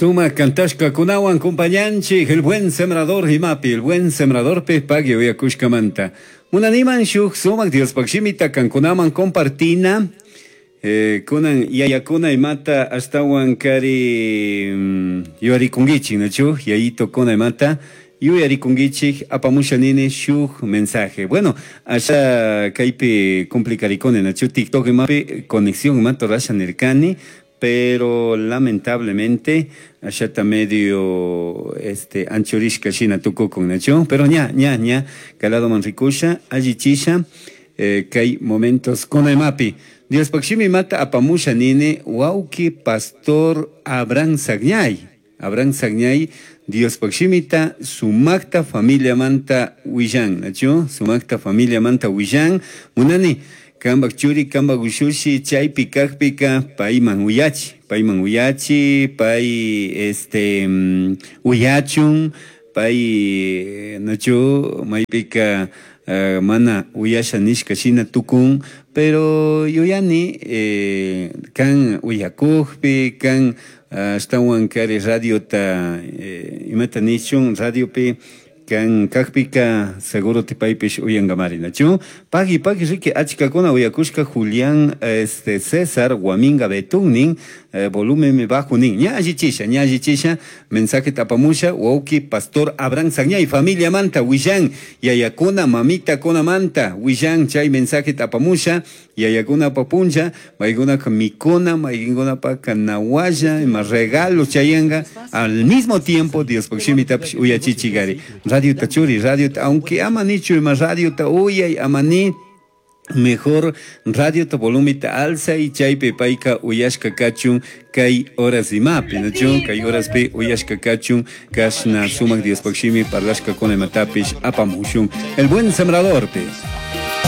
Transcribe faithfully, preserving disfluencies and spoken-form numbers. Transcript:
Suma kantashkakunawan compañanchik El Buen Sembrador imapi, El Buen Sembrador pe pagui uyakushkamanta. Munaniman shuk sumak Diospaq shimita kankunaman compartina. Eh, kunan yayakuna imata ashtawan kari mm, yuyarikunkichik, nachu? Yayito kuna imata yuyarikunkichik apamusha nini shuk mensaje. Bueno, asha kaypi complicarikuni, nachu? TikTok imapi conexión imata rasha nirkani, pero lamentablemente ashata medio este anchurishka shina tukukun, nachu? Pero ña, ña, ña, kaladoman rikusha, allichisha, eh, kay momentos kuna imapi. Diospaq shimi mata apamusha nini wawki pastor Abraham Sagñay. Abraham Sagñay Diospaq shimita sumakta familia manta willan, nachu? Sumakta familia manta willan. Munani kambak churi, kambak ushushi chaypi kakpika payman uyachi, payman uyachi, pay este mm, uyachun, pay nachu maypika uh, mana uyasha nishka shina tukun, pero yuyani eh, kan uyakukpi, kan ashtawan kari radiota eh, imata nichun radiopi kan kakpika seguro tipaypish uyankamari, nachu? Pagui pagui riki achkakuna uyakushka Julián este César Guaminga Betún eh, volumen bajo nin ña allichisha, ña allichisha mensaje tapamusha wawki pastor Abraham Sagñay familia manta willan yayakuna mamita kuna manta willan chay mensaje tapamusha yayakuna papuncha maykunaka mikuna maykunapaka nawalla ima regalo chayanga al mismo tiempo Diospaq shimitapish uyachichigari radio ta churi radio ta aunque ama nichu ima radio ta uyay ama ni mejor radio ta volumen ta alza y chaypi payka uyashka kachun kay horas imapi, nachu? Kay horaspi uyashka kachun kashna sumak Diospaq shimi parlashka kuna imatapish apamushun El Buen Sembrador pe.